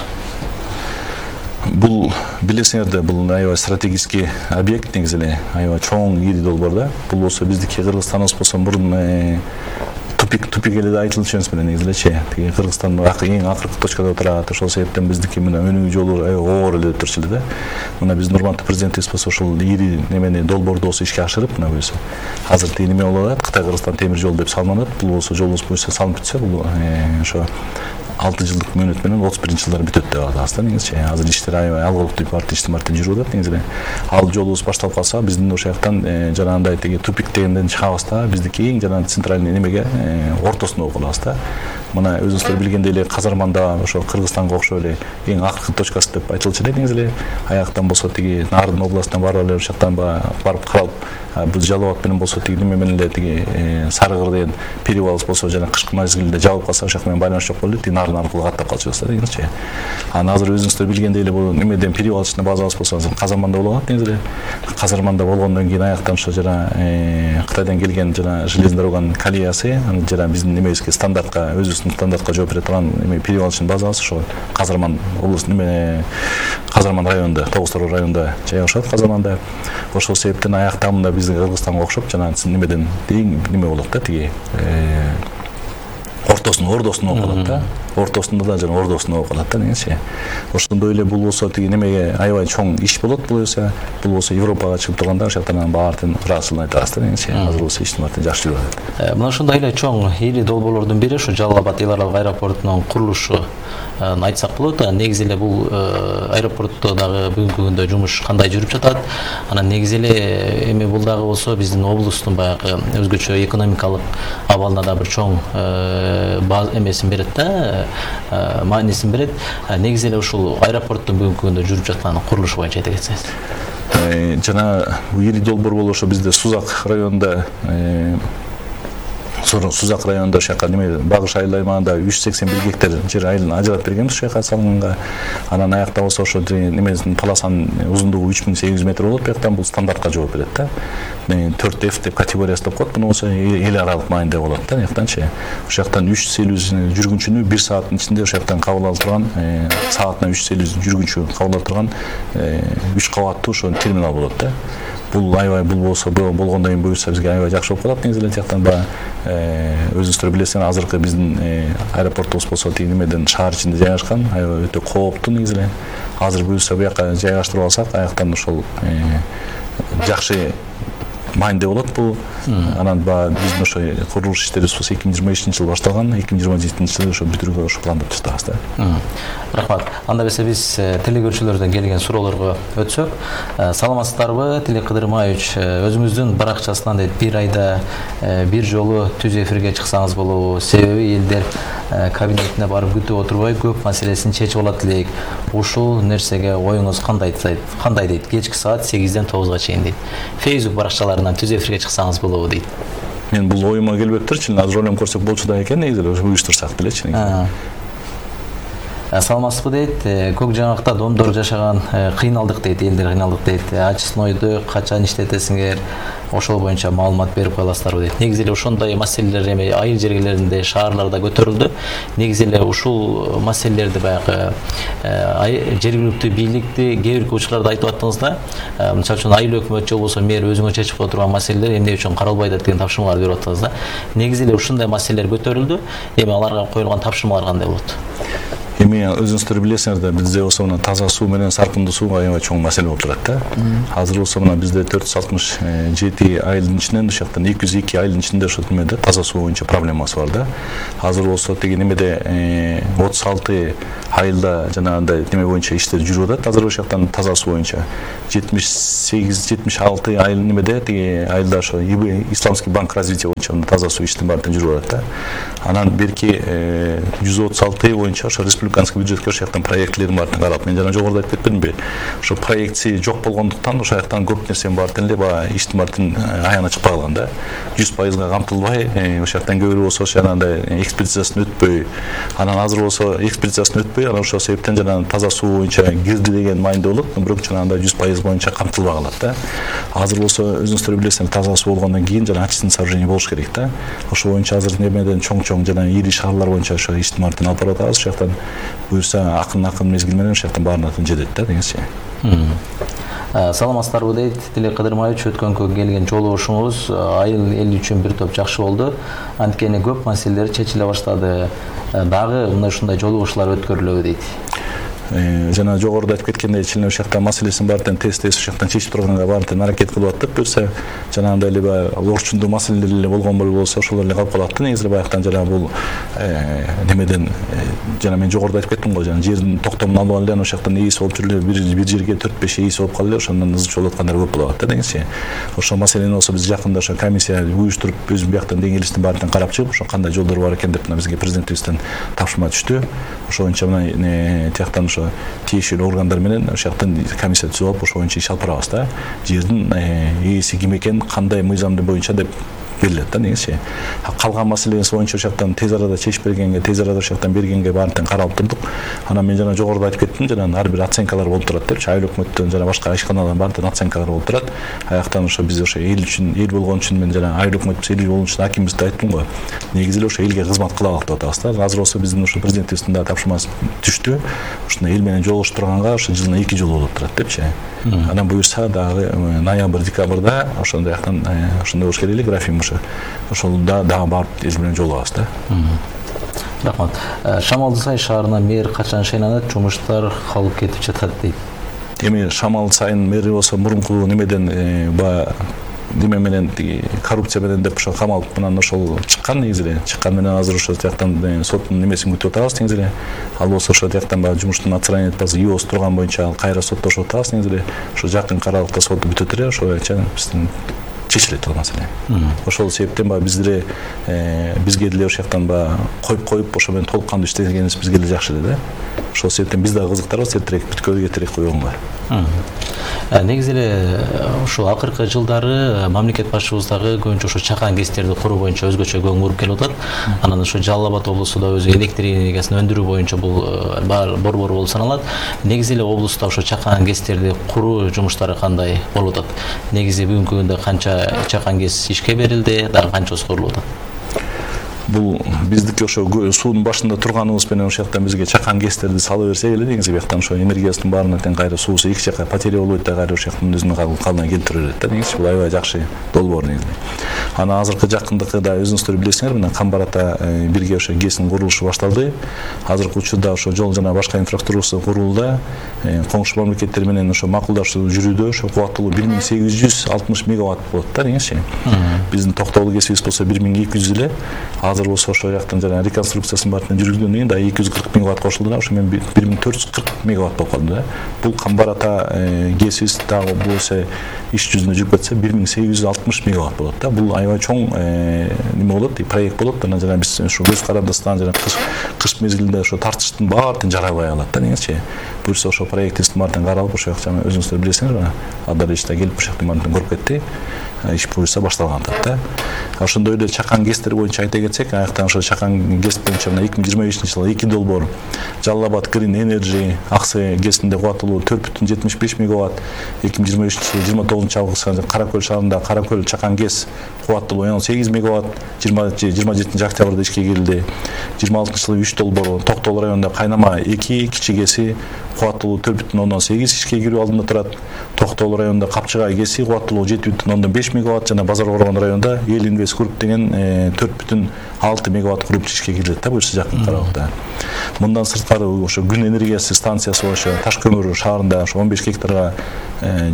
Бул билесиңерде, бул аябай стратегический объект негизи эле, аябай чоң ири долбоор да. Бул болсо биздики Кыргызстаныбыз болсо мурун тупик эле айтылышы эмес менен негизилечи тиги Кыргызстан эң акыркы точкада турат. Ошол себептен биздики мына өнүгүү жолу оор эле өтүрчү эле да. Мына биздин урматтуу президентибиз болсо ошол ири немени долбоорду болсо ишке ашырып мына буюрса азыр тиги неме болуп атат, Кытай Кыргызстан темир жол деп салынат. Бул болсо жолубуз буюрса салынып бүтсө бул ошо 6 жылдык мөөнөт менен 31-жылдары бүтөт деп атабыз да негизичи. Азыр иштер аябай алгылыктуу иштин жүрүп атат негизи. Ал жолубуз башталып калса биздин ошол жактан жанагындай тиги тупик дегенден чыгабыз да, биздики эң жанагы центральный немеге ортосуна окуп калабыз да. Мына өзүңүздөр билгендей эле Казарманда ошо Кыргызстанга окшоп эле эң акыркы точкасы деп айтылчу эле негизи. Аяктан болсо тиги Нарын областынан барып эле ошол жактан барып каралып, бул Жалал Абад менен болсо тиги неме менен эле тиги Сарыгыр деген перевал болсо жана кышкы мезгилде жабылып калса ошол жак менен байланыш жок болуп тиги Нарын аркылуу каттап калчубуз да негизичи. Анан азыр өзүңүздөр билгендей эле бул немеден перевалчный базабыз болсо азыр Казарманда болуп атат негизи. Казарманда болгондон кийин аяктан ошо жана Кытайдан келген жана железный дороганын колеясы жана биздин немебизге стандартка өзүбүздүн стандартка жооп бере турган перевалочный базабыз ошо Казарман облусу неме Казарман районунда, Тогуз-Тороо районунда жайгашат Казарманда. Ошол себептен аяктамында биздин Кыргызстанга окшоп жана немеден неме болот да тиги ордосуна окуп калат да. Ортосунда да жана ордосуна окуп калат да негизичи. Ошондой эле бул болсо тиги немеге аябай чоң иш болот бул болсо Европага чыгып турганда ошол жактан баардыгын ыраазычылыгын айтабыз да негизичи. Азыр болсо иштин жакшы жүрүп атат. Мына ушундай эле чоң ири долбоорлордун бири ушу Жалал Абад эл аралык аэропортунун курулушу айтсак болот. Негизи эле бул аэропортто дагы бүгүнкү күндө жумуш кандай жүрүп жатат? Анан негизи эле эми бул дагы болсо биздин облустун баягы өзгөчө экономикалык абалына да бир чоң эмесин берет да, маанисин берет. Негизи эле ушул аэропорттун бүгүнкү күндө жүрүп жаткан курулушу боюнча айта кетсеңиз. Жана ири долбоор болуп ошо бизде Сузак районунда Сузак районунда ошол жака неме Багыш айыл аймагында 381 гектар жер айылын ажыратып бергенбиз ошол жака салынганга. Анан аякта болсо ошо немесин полосанын узундугу 3800 метр болот. Бияктан бул стандартка жооп берет да. 4F деп категориясы деп коет. Муну болсо эл аралык маанидә болот да. Аяктанчы ошол жактан 350 жүргүнчүнү 1 сааттын ичинде ошол жактан кабыл алып турган, саатына 350 жүргүнчү кабыл алып турган 3 кабаттуу ошо терминал болот да. Бул аябай бул болсо болгондон кийин буюрса бизге аябай жакшы болуп калат негизи эле жактан өзүңүздөр билесиңер азыркы биздин аэропортубуз болсо тиги немеден шаар ичинде жайгашкан аябай өтө кооптуу негизи эле. Азыр буюрса буяка жайгаштырып алсак аяктан ошол жакшы маанидә болот бул. Анан биздин ошо курулуш иштерибиз болсо 2023-жылы башталган, 2027-жылы ошо бүтүрүүгө ошо пландап жатабыз да. Рахмат. Анда берсе биз телекөрүүчүлөрдөн келген суроолорго өтсөк, саламатсыздарбы Тилек Кыдырмаевич, өзүңүздүн баракчасынан бир айда бир жолу түз эфирге чыксаңыз болобу? Себеби элдер кабинетине барып күтүп отурбай көп маселесин чечип алат элек. Ушул нерсеге оюңуз кандай дейт? Кечки саат 8-ден 9-га чейин дейт. Facebook баракчаларынан түз эфирге чыксаңыз болобу дейт. Мен бул оюма келбептирчи, азыр ойлонуп көрсөк болчу да экен негизи эле уюштурсак делечи негизи. Саламатсызбы дейт, көк жаңакта домдор жашаган кыйналдык дейт, элдер кыйналдык дейт. Ачысынойду качан иштетесиңер? Ошол боюнча маалымат берип коеласыздарбы дейт. Негизи эле ошондой маселелер эми айыл жергелеринде, шаарларда көтөрүлдү. Негизи эле ушул маселелерди баягы жергиликтүү бийликти кээ бир учурларда айтып аттыңыз да. Мисалы үчүн айыл өкмөт же болбосо мэр өзүңө чечип кое турган маселелер эмне үчүн каралбайт деген тапшырмалар берип аттыңыз да. Негизи эле ушундай маселелер көтөрүлдү. Эми аларга коюлган тапшырмалар кандай болот? Эми өзүңүздөр билесиңер да, бизде болсо мына таза суу менен саркындуу суу аябай чоң маселе болуп турат да. Азыр болсо мына бизде 467 айылдын ичинен ошол жактан 202 айылдын ичинде ошо немеде таза суу боюнча проблемасы бар да. Азыр болсо тиги немеде 36 айылда жанагындай неме боюнча иштер жүрүп атат. Азыр ошол жактан таза суу боюнча 78-76 айыл немеде тиги айылда ошо Исламский банк развития боюнча таза суу иштин баардыгы жүрүп атат да. Анан берки 136 боюнча ошо республиканский бюджетке ошол жактан проектилердин баардыгын карап, мен жана жогоруда айтып кетпедимби? Ошо проектси жок болгондуктан ошол жактан көп нерсенин баардыгын эле баягы иштин баардыгын аяна чыкпай калган да. 100%га камтылбай, ошол жактан көбүрөөк болсо жанагындай экспертизасын өтпөй, анан азыр болсо экспертизасын өтпөй, анан ошол себептен жана таза суу боюнча кирди деген маанидә болот, бирок жанагындай 100% боюнча камтылбай калат да. Азыр болсо өзүңүздөр билесиңер, таза суу болгондон кийин жана очистный сооружение болуш керек да. Ошол боюнча азыр немеден чоң жана ири шаарлар боюнча ошо иштин баардыгын алып барып атабыз. Ошол жактан буюрса акын мезгил менен ошол жактан баарын жетет да дегенчи. Саламатсыздарбы дейт Тилек Кыдырмаевич, өткөнгө келген жолугушуңуз айыл эл үчүн бир топ жакшы болду. Анткени көп маселелер чечиле баштады. Дагы мына ушундай жолугушуулар өткөрүлөбү дейт. Жана жогоруда айтып кеткендей, чилин ушактан маселесин баарын тез ушактан чечип турганга баарын аракет кылып аттык. Буюрса жанагындай эле баягы орчундуу маселелер эле болгон болсо ошолор эле калып калат. Негизи баягытан жана бул немеден жана мен жогоруда айтып кеттим го, жана жердин токтомун алып алып эле ушактан ээси болуп жүрүп бир жерге 4-5 ээси болуп калып эле ошондон ызы болуп аткандар көп болуп атат негизи. Ошол маселени болсо биз жакында ошо комиссия уюштуруп өзү бияктан деңгээлистин баарын карап чыгып, ошо кандай жолдор бар экен деп бизге президентибизден тапшырма түштү. Ошо боюнча мына тияктан ошо тиешелүү органдар менен ошояктан комиссия түзүп алып, ошо боюнча иш алып барабыз да. Жердин ээси ким экен, кандай мыйзам боюнча деп берилет да негизи. Калган маселенин боюнча ошояктан тез арада чечип бергенге, тез арада ошояктан бергенге баарын каралып турдук. Анан мен жана жогоруда айтып кеттим, жана ар бир оценкалар болуп турат депчи. Айыл өкмөттөн жана башка ишканалардын баардыгын оценкалар болуп турат. Аяктан ошо биз ошо эл үчүн, эл болгон үчүн мен жана айыл өкмөтүбүз эл болгон үчүн акимибизде айттым го. Негизи эле ошо элге кызмат кылалык деп атабыз да. Азыр болсо биздин ошо президентибиздин да тапшырмасы түштү. Ушуна эл менен жолугушуп турганга ошо жылына 2 жолу болуп турат депчи. Анан буюрса дагы ноябрь, декабрда ошондой жактан ошондой болуш керек эле график ошо. Ошолда дагы барып эл менен жолугабыз да. Рахмат. Шамалды Сай шаарына мэр качан шайланат, жумуштар калып кетип жатат дейт. Эми Шамал Сайын мэри болсо мурунку немеден неме менен коррупция менен деп ошо камалып менен ошол чыккан негизи эле. Чыккан менен азыр ошо тияктан соттун немесин күтүп атабыз негизи эле. Ал болсо ошо тияктан баягы жумуштун отстранение этпасы ИОС турган боюнча кайра соттошуп атабыз негизи эле. Ошо жакын аралыкта сот бүтөт эле, ошо боюнча биздин чечилет ал маселе. Ошол себептен баягы бизге деле ошояктан баягы коюп ошо менен толук кандуу иштегенибиз бизге деле жакшы эле да. Ошол себептен биз дагы кызыктарбыз эртерээк бүткөлгө эртерээк койгонго. Негизи эле ушул акыркы жылдары мамлекет башчыбыз дагы көбүнчө ошо чакан ГЭСтерди куруу боюнча өзгөчө көңүл буруп келип атат. Анан ошо Жалал Абад облусу да өзү электр энергиясын өндүрүү боюнча бул борбор болуп саналат. Негизи эле облуста ошо чакан ГЭСтерди куруу жумуштары кандай болуп атат? Негизи бүгүнкү күндө канча чакан ГЭС ишке берилди, дагы канчасы курулуп атат? Бул биздики ошо суунун башында турганыбыз менен ошояктан бизге чакан ГЭСтерди сала берсек эле негизи бияктан ошо энергиясынын баарына тең кайра суусу эки жака потеря болбойт да, кайра ошояктан өзүнүн калыбына келтире берет да. Негизи бул аябай жакшы долбоор негизи. Анан азыркы жакындыкы да өзүңүздөр билесиңер, мына Камбар ата бирге ошо ГЭСтин курулушу башталды. Азыркы учурда ошо жол жана башка инфраструктурасы курулууда. Коңшу мамлекеттер менен ошо макулдашуу жүрүүдө. Ошо кубаттуулугу 1860 мегаватт болот да негизи. Биздин токтогул ГЭСибиз болсо 1200 эле. Азыр болсо ошол жактан жана реконструкциясын баарын жүргүзгөндөн кийин да 240 мегаватт кошулду да, ошо мен 1440 мегаватт болуп калды да. Бул Камбар ата ГЭСибиз дагы болсо иш жүзүнө жүрүп кетсе 1860 мегаватт болот да. Бул аябай чоң неме болот, проект болот. Анан жана биз ошо көз карандысынан жана кыш мезгилинде ошо тартыштын баарын жарабай алат да негизи. Буюрса ошо проектибиздин баарын каралып ошо жана өзүңүздөр билесиңер, Адар иште келип ошо жактын баарын көрүп кетти. Иш буюрса башталган да. Ошондой эле чакан ГЭСтер боюнча айта кетсек, аяктан ошо чакан ГЭС боюнча 2025-жылы 2 долбоор Жалал Абад Green Energy Аксы ГЭСинде кубаттуулугу 4,75 мегаватт, 2023-жылы 29-августта Каракөл шаарында Каракөл чакан ГЭС кубаттуулугу 8 мегаватт, 27-октябрда ишке кирилди. 26-жылы 3 долбоор Токтогул районунда Кайнама 2 кичи ГЭСи кубаттуулугу 4,8 ишке кирүү алдында турат. Токтогул районунда Капчыгай ГЭСи кубаттуулугу 7,5 мегаватт жана Базар Коргон районунда Эл Инвест Групп деген 4,6 мегаватт куруп ишке кирилет да, буюрса жакын аралыкта. Мындан сырткары ошо күн энергиясы станциясы ошо Таш көмүр шаарында ошо 15 гектарга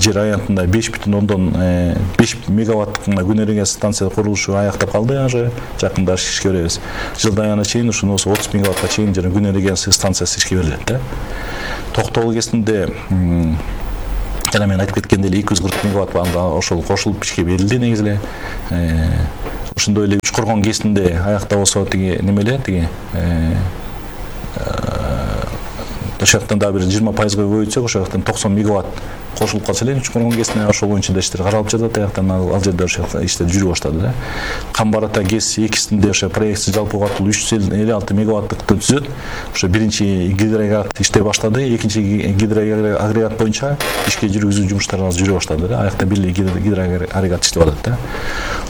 жер аянтында 5,5 мегаваттык күн энергиясы станция курулушу аяктап калды. Ошо жакында ишке беребиз. Жылдын аягына чейин ушуну 30 мегаваттка чейин жана күн энергиясы станциясы ишке берилет да. Токтогул ГЭСинде жана мен айтып кеткендей 240 мегаватт ошол кошулуп ишке берилди негизи эле. Ошондой эле Үч Коргон ГЭСинде аякта болсо немеле ошол жактан дагы бир 20% көбөйтсөк ошол жактан 90 мегаватт кошулуп калса эле Үч Коргон ГЭСине ошол боюнча да иштер каралып жатат. Аяктан ал жерде ошо иштер жүрүп баштады да. Камбар ата ГЭС 2синде ошо проектси жалпы кубаттуулугу 356 мегаваттыктан түзөт. Ошо биринчи гидроагрегат иштей баштады. Экинчи гидроагрегат боюнча ишке жүргүзүү жумуштары азыр жүрө баштады да. Аякта бир гидроагрегат иштеп атат да.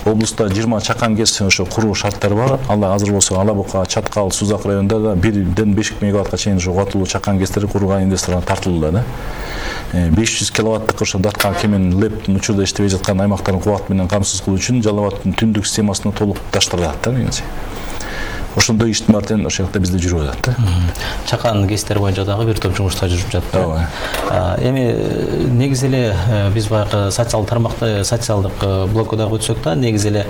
Облуста 20 чакан ГЭС ошо куруу шарттары бар. Ал азыр болсо Ала Бука, Чаткал, Сузак районунда да 1,5 мегаваттка чейин ошо кубаттуулугу чакан ГЭСтери курууга инвесторлор тартылды да. 500 киловаттык ошо датка кемен леп учурда иштебей жаткан аймактардын кубат менен камсыз кылуу үчүн Жалал Абадтын түндүк системасына толукташтырылат да негизи. Ошондой иштин баары ошол жакта бизде жүрүп атат да. Чакан кесиптер боюнча дагы бир топ жумуштар жүрүп жатат. Эми негизи эле биз баягы социалдык тармакта, социалдык блокко дагы өтсөк да, негизи эле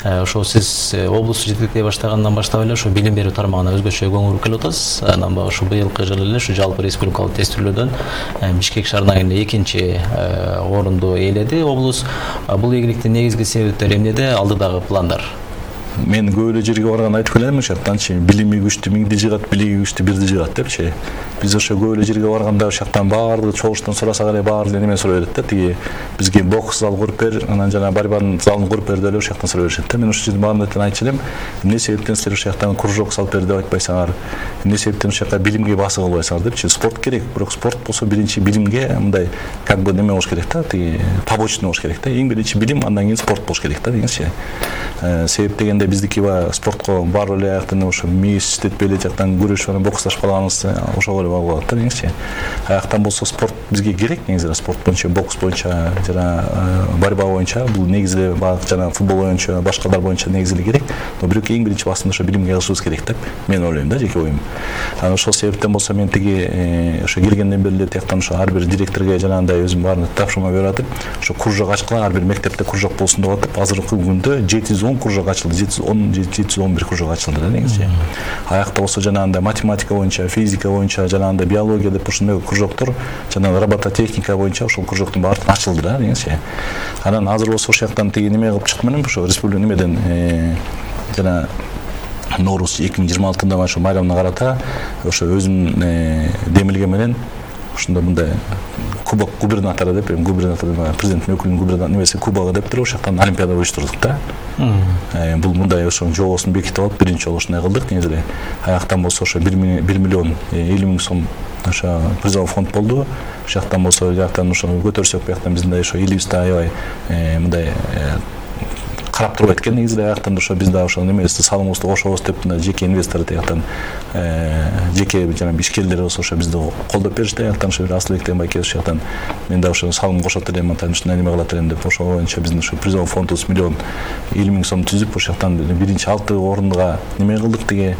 ошо сиз облусту жетектей баштагандан баштап эле ошо билим берүү тармагына өзгөчө көңүл буруп келип атасыз. Анан баягы ошо быйылкы жылы эле ушу жалпы республикалык тестүүлөөдөн Бишкек шаарынан кийин экинчи орунду ээледи облус. Бул ийгиликтин негизги себептери эмнеде? Алдыдагы пландар? Мен көп эле жерге барганда айтып келем ошол жактанчы билими күчтүү миңди жыгат, билиги күчтүү бирди жыгат депчи. Биз ошо көп эле жерге барганда ошол жактан баардыгы чогуштан сурасак эле баардыгы неме сурай берет да. Тиги бизге бокс зал куруп бер, анан жана борьбанын залын куруп бер деп эле ошол жактан сурай беришет да. Мен ошол жердин баарына айтчу элем, эмне себептен силер ошол жактан кружок салып бер деп айтпайсыңар? Эмне себептен ошол жакка билимге басым кылбайсыңар депчи. Спорт керек, бирок спорт болсо биринчи билимге мындай как бы неме болуш керек да, тиги побочный болуш керек да. Эң биринчи билим, андан кийин спорт болуш керек да дегенчи. Себеп дегенде биздики спортко барып эле аяктан ошо мээс иштетпей эле жактан күрөшүп анан боксташып калганыбыз ошого эле багып калат да дегенчи. Аяктан болсо спорт бизге керек негизи, спорт боюнча, бокс боюнча жана борьба боюнча бул негизи эле жана футбол боюнча, башкалар боюнча негизи эле керек. Но бирок эң биринчи басымда ошо билимге кылышыбыз керек деп мен ойлойм да, жеке оюм. Анан ошол себептен болсо мен тиги ошо келгенден бери эле тияктан ошо ар бир директорго жанагындай өзүм баарына тапшырма берип атып, ошо кружок ачкыла, ар бир мектепте кружок болсун деп атып, азыркы күндө 710 кружок ачылды, 711 кружок ачылды да негизи. Аякта болсо жанагындай математика боюнча, физика боюнча, жанагындай биология деп ушундай кружоктор, жана робототехника боюнча ошол кружоктун баары ачылды да негизи. Анан азыр болсо ошол жактан тиги неме кылып чыктым элем, ошо республика немеден жана Ноорус 2026-да ошо майрамына карата ошо өзүмдүн демилгем менен ушунда мындай кубок губернатора деп, губернатор президенттин өкүлүнүн губернатор немеси кубогу деп туруп ошол жактан олимпиада уюштурдук да. Бул мындай ошо жобосун бекитип алып биринчи жолу ушундай кылдык негизи эле. Аяктан болсо ошо 1 миллион 50 миң сом ошо призовой фонд болду. Ошол жактан болсо жактан ошо көтөрсөк бияктан биздин ошо элибизде аябай мындай карап турбайт экен негизи аяктан ошо биз да ошо немебизди салымыбызды кошобуз деп жеке инвестор тияктан жеке жана ишкерлер болсо ошо бизди колдоп беришти. Аяктан ошо Асылбек деген байке ошол жактан мен да ошо салым кошот элем, атайын ушундай неме кылат элем деп ошол боюнча биздин ошо призовой фондубуз 1 миллион 50 миң сом түзүп ошол жактан биринчи 6 орунга неме кылдык тиги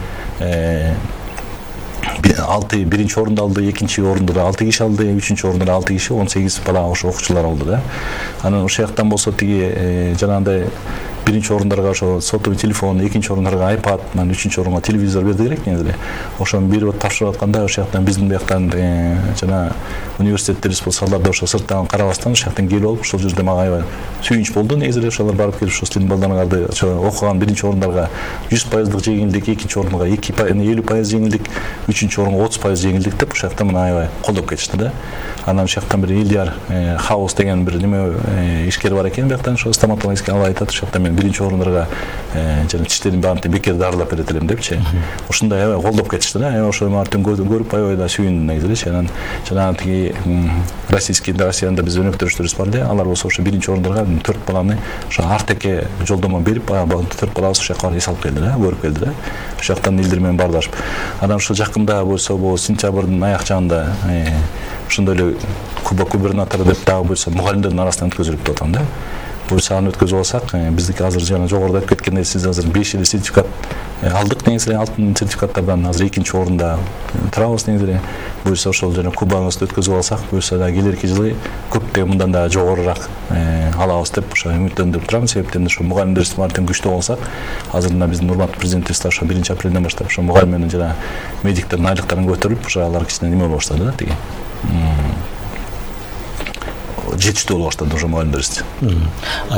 6 биринчи орунду алды, экинчи орунду да 6 киши алды, үчүнчү орунду да 6 киши, 18 бала ошо окуучулар алды да. Анан ошол жактан болсо тиги жанагындай биринчи орундарга ошо сотовый телефон, экинчи орундарга iPad, анан үчүнчү орунга телевизор берди керек негизи. Ошону берип тапшырып атканда ошол жактан биздин бияктан жана университеттерибиз болсо алар да ошо сырттан карабастан ошол жактан келип алып ошол жерде мага аябай сүйүнүч болду негизи эле. Ошолор барып келип ошо силердин балдарыңарды ошо окуган биринчи орундарга 100% жеңилдик, экинчи орунга 50% жеңилдик, үчүнчү орунга 30% жеңилдик деп ошол жактан мына аябай колдоп кетишти да. Анан ошол жактан бир Ильяр Хаус деген бир неме ишкер бар экен бияктан, ошо стоматологический ал айтат ошол жактан мен биринчи орундарга жана тиштерин баарын бекер дарылап берет элем депчи. Ушундай аябай колдоп кетишти да. Ошол мартын көрүп аябай да сүйүндүм негизи эле. Анан жанагы тиги Россияда биз өнөктөрүштөрүбүз бар эле. Алар болсо ошо биринчи орундарга 4 баланы ошо артеке жолдомо берип, 4 балабыз ошол жака эс алып келди да, көрүп келди да. Ошол жактан элдер менен баардашып. Анан ошол жакында болсо бул сентябрдын аяк жагында ошондой эле кубок губернатора деп дагы буюрса мугалимдердин арасынан өткөзүлүп деп атам да. Буюрса аны өткөзүп алсак, биздики азыр жана жогоруда айтып кеткендей сиз азыр 5 эле сертификат алдык негизи эле, алтын сертификаттардан азыр экинчи орунда турабыз негизи эле. Буюрса ошол жана кубогубузду өткөзүп алсак, буюрса да келерки жылы көптөгөн мындан да жогорураак алабыз деп ошо үмүттөнүп турам. Себептен ошо мугалимдерибиз баарын күчтүү болсак, азыр мына биздин урматтуу президентибиз ошо 1 апрелден баштап ошо мугалим менен жана медиктердин айлыктарын көтөрүп, ошо алар кичине неме болуп баштады да тиги. Жетиштүү болуп баштады ошо мугалимдерибиз.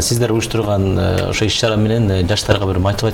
Сиздер уюштурган ошо иш чара менен жаштарга бир мотивация